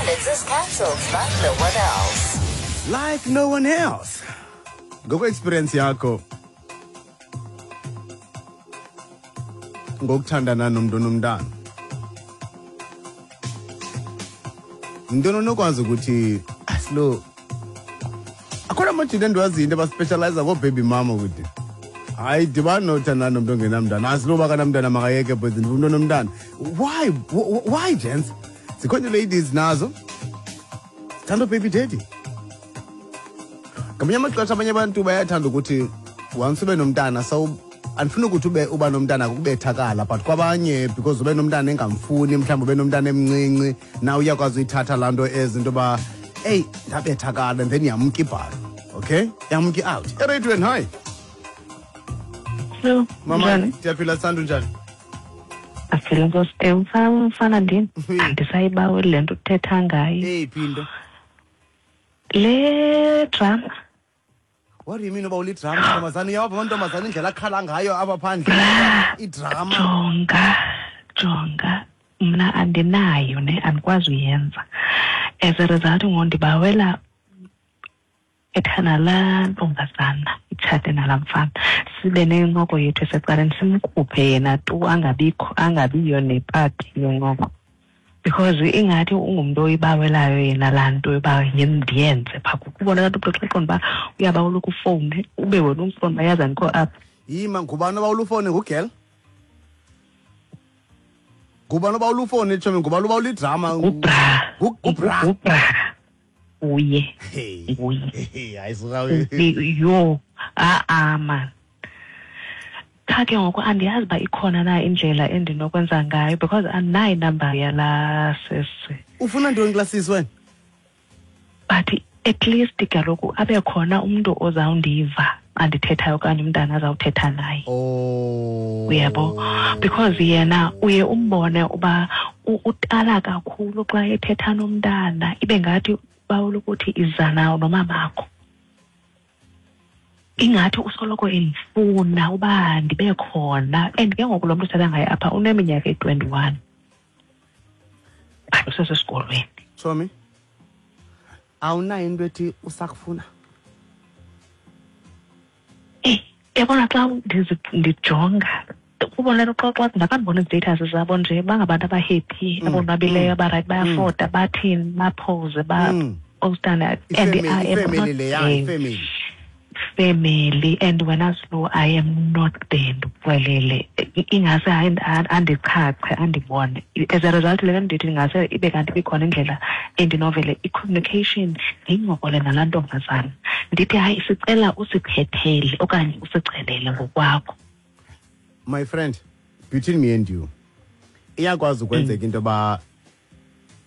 Independence is cancelled like no one else. Like no one else. Ngokwe-experience yakho ngokuthandana nomntu onomntana, yintoni onokwazi ukuthi asilo akhona amajita endiwaziyo into abaspecializa ngoobaby mama ukuthi hayi dibani nothandana nomntu ongenamntana, asiloba kanamntana makayeke boys, ndifuna umntu onomntana. Why gents? Zikhona ladies nazo zithanda baby daddy. Ngamanye amaxesha abanye abantu bayathanda ukuthi once ube nomntana, so andifuni ukuthi ube uba nomntana kukubethakala, but kwabanye because ube nomntana engamfuni, mhlawumbi ube nomntana emncinci, na uyakwazi uyithatha laa nto ezi into yoba eyi ndabethakala, and then yamka ibhalo, okay, yamka i-out ereyidweni. Hayi. Hello. Mama. Njani? Ndiyaphila santu, njani? Aphila nkosi. Mfana ndini. Andisayibaweli le nto uthetha ngayo. Eyiphi into? Le drama. What do you mean uba ulidrama? Ntombazana, uyawapha amantombazana indlela akhala ngayo apha phandle, idrama. Jonga, jonga. Mna andinayo ne, andikwazi uyenza. As a result ngoku ndibawela ethana laa ntombazana itshate nalaa mfana, sibe nencoko yethu esecaleni, simkhuphe yena tu, angabikho, angabiyo nepati yencoko, because ingathi ungumntu oyibawelayo yena laa nto yoba ndiyenze phaa. Kubona kanti umntu xa eqonda uba uyabawela ukufowune, ube wena umfowuni uba yazi andikho apha. Yima, ngubani obawula ufowune? Ngugirl? Ngubani obawula ufowune, tshomi? Ngubani obawula idrama? Ngubra. Ngubra. Ngubra uye. Hey. Nguye. Hey, hayi suka. Yho, a-a man, qha ke ngoku andiyazi uba ikhona na indlela endinokwenza ngayo, because andinayo inamba yalaa sisi. Ufuna ntoni kulaa sisi wena? But at least kaloku abe khona umntu ozawundiva andithethayo okanye umntana azawuthetha naye. Oh. Uyabo, because yena uye umbone uba utala kakhulu xa ethetha nomntana, ibe ngathi bawula ukuthi iza nawo nomamakho, ingathi usoloko endifuna uba ndibe khona. And ke ngoku lo mntu uthetha ngaye apha uneminyaka eyi-21, but usesesikolweni. Chomi, awunayo into ethi usakufuna? Eyi, yabona, xa ndijonga ubona nto, xa ndakandibona izi-status zabo nje, bangabantu abahappy, abonwabileyo, abarayithi, bayafota, bathini, bapose, bapostana and ifemeli I am ifemeli not leya there. Ifemeli. Family, and wena Slu, I am not there. Ndikuxelele, ingase hayi andichache andibone. As a result le nto ndithi ingase ibe kanti ibikhona indlela endinovele i-communication, ndiyincokole nalaa ntombazana, ndithi hayi, sicela usiphethele okanye usicelele ngokwakho. My friend, between me and you, iyakwazi ukwenzeka into yoba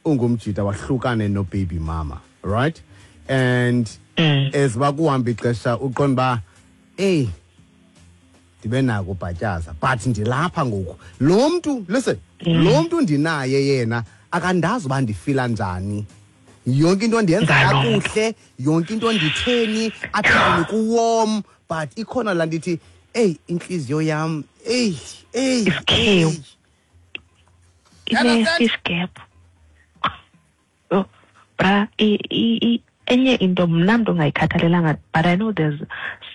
ungumjita wahlukane no-baby mama, right? And as uba kuhamba ixesha uqonda uba eyi ndibe nako ubhatyaza, but ndilapha ngoku, lo mntu, listen, lo mntu ndinaye yena akandazi uba ndifila njani, yonke into ndiyenza Ngalo mntu. kakuhle, yonke into nditheni apha endlini kuwarm, but ikhona laa nto ithi eyi intliziyo yam, eyi, eyi. Isikhewu. Eyi. You understand? Ine-fish gap. Oh, bra, enye into mna mntu ongayikhathalelanga, but I know there's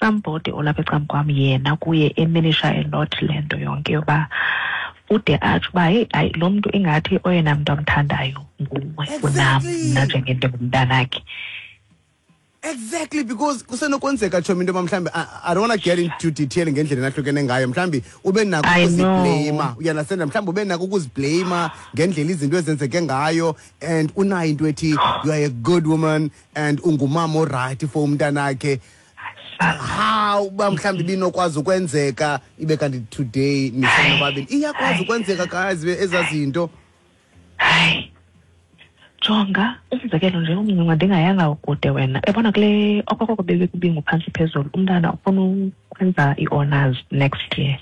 somebody olapha ecam kwam, yena kuye eminisha a lot le nto yonke yoba ude atsho uba heyi hayi, lo mntu ingathi oyena mntu amthandayo nguwe kunam mna njengento ngumntanakhe. Exactly, because kusenokwenzeka, tshomi, into yoba mhlawumbi I don't want to get into detail ngendlela enahlukene ngayo, mhlawumbi ube nako I know. ukuzibleyima, uyanasenda, mhlawumbi ube nako ukuzibleyima ngendlela izinto ezenzeke ngayo, and unayo into ethi you are a good woman and ungumama orayithi for umntanakhe. How uba mhlawumbi ibinokwazi ukwenzeka ibe kanti today nisenobabini? Iyakwazi ukwenzeka, guys, ezaa zinto. Hayi, jonga, umzekelo nje umncinci, ndingayanga kude wena, yabona kule okokoko bebekubingu phantsi phezulu, umntana ufuna ukwenza i-honors next year,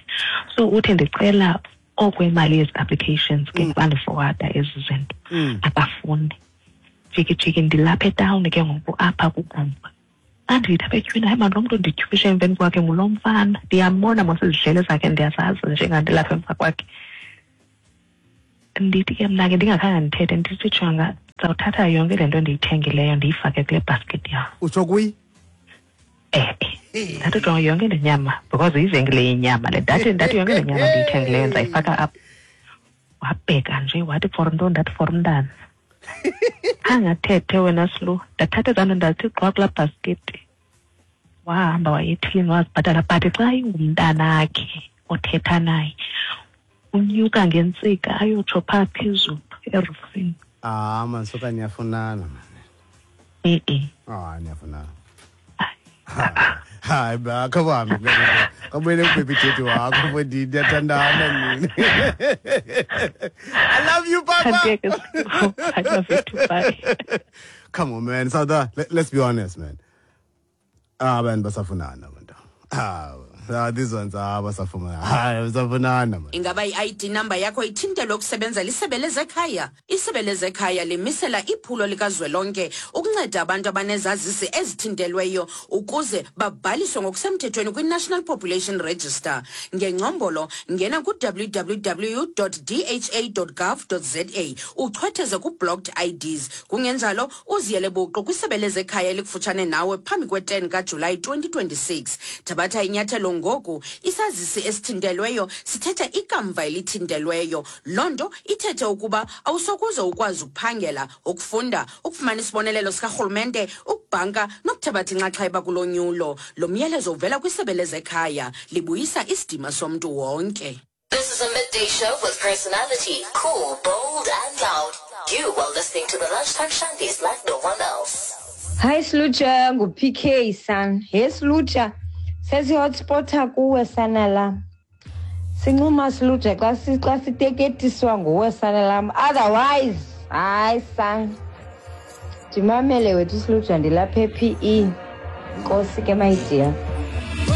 so uthi ndicela okwemali yezi applications ke, bandiforwarda ezi zinto. Akafuni, jiki jiki, ndilapha etawuni ke ngoku apha kugumba, andithi apha etyhwini, hayi mani, lo mntu ndityhwishe emveni kwakhe ngulo mfana, ndiyambona mos, izidlele zakhe ndiyazazi, njengandilapha emva kwakhe. Ndithi ke mna ke ndingakhange ndithethe, ndithi jonga. Ndizawuthatha yonke le nto ndiyithengileyo, ndiyifake kule basket yam. Utsho kuyi? E-e, ndathi, jonga, yonke le nyama, because yivenkile yenyama le. Ndathi yonke le nyama ndiyithengileyo ndizayifaka apha. Wabheka nje, wathi, "For ntoni?" Ndathi, "For umntana." Angathethe wena Slu. Ndathatha ezaa nto, ndathi gqwa kulaa bhasketi. Wahamba waya ethilini, wazibhatala. But xa ingumntanakhe othetha naye, unyuka ngentsika ayotsho phaa phezulu erufini. Ah man, soka niyafunana man. E-e. Ah, niyafunana. Hayi ba, khawuhambe, kabuyele kubaby daddy wakho mfondini, ndiyathandana mina. I love you, papa. Thandeke. I love you too, bye. Come on, man. Sauda, let's be honest, man. Ah, abantu basafunana abantu. Ah, these ones, ah, basafunana. Hayi, basafunana man. Ingaba i-ID number yakho ithintelwe ukusebenza lisebe lezekhaya? Isebe lezekhaya limisela iphulo likazwelonke ukunceda abantu abanezazisi ezithintelweyo ukuze babhaliswe ngokusemthethweni kwi-National Population Register. Ngengcombolo, ngena ku-www dha gov za, uchwetheze ku-blocked IDs. Kungenjalo, uziyele buqu kwisebe lezekhaya elikufutshane nawe phambi kwe-10 kaJulayi 2026. Thabatha inyathelo ngoku. Isazisi esithintelweyo sithetha ikamva elithintelweyo. Loo nto ithethe ukuba awusokuze ukwazi ukuphangela, ukufunda, ukufumana isibonelelo sikarhulumente, ukubhanka nokuthabatha inxaxheba kulonyulo. Lo myalezo uvela kwisebe lezekhaya, libuyisa isidima somntu wonke. This is a midday show with personality, cool, bold, and loud. You are listening to the Lunchtime Shandies like no one else. Hayi Slutsha, ngu-PK san. He Slutsha, sesi-hotspota kuwe sana lam. Sincuma Slutsha xa siteketiswa nguwe sana lam. Otherwise, hayi san. Ndimamele wethu Slutsha, ndilapha e-PE. Nkosi ke, my dear.